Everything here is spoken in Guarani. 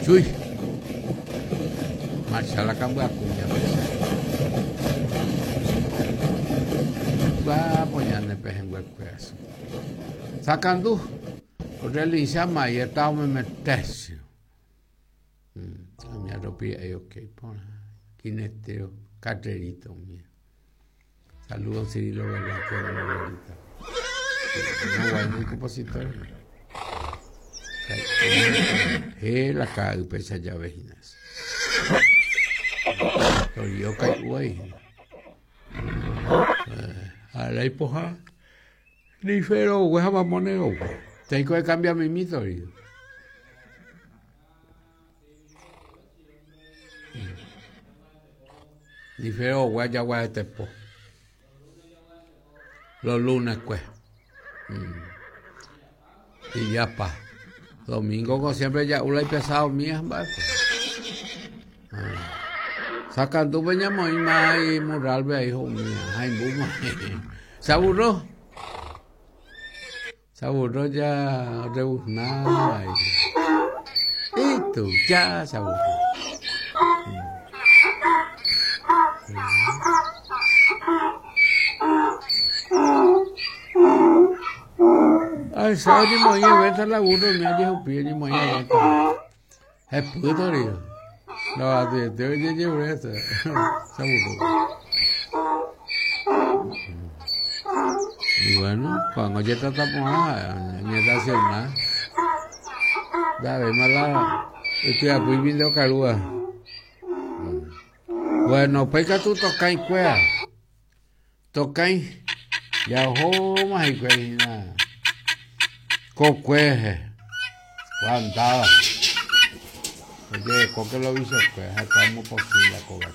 Chui. Marcha la kambyaku ñapesã. Guapo ñane pehẽnguekuéra. Sakandu realiza maieta omemetésio. Amia ropi ahí ok porã. Quinetero, carrerito mía. Saludos Cirilo Velázquez de Margarita. No guay compositor. He la ka'aýpe che jave hína. Torio kai'u ai hína. Ha ipoha ni fero ogue ha mamóne ogue. Tengo que cambiar mimi torio. Ni fero ogue ajaguaretepo. Los lunes kue. Y ya pa. Domingo ko siempre ja'u la ipesado mía mba'e. Sakandúpe ñamoĩ ma imurralpe ahí ho'umía. Haimbúma. Se aburró. Se aburró ya rebuznar. Y tú ya se aburrió. Ay, sábado ñemoĩ evento la burro mi ajehupi ñemoĩ evento. Hepy torio. No, atiete ojejeure eso. Se aburrió. Y bueno, cuando ojetrata porã, oñerelaciona. Ndavéima la ytyapýi nde okarúva. Bueno, upéi katu tokãi kuéra. Tokãi ja ohóma hikuái hína kokuéhe kuandáva. Ojerekóke lo vichokuéra ha kuaa omopotĩ la kóga.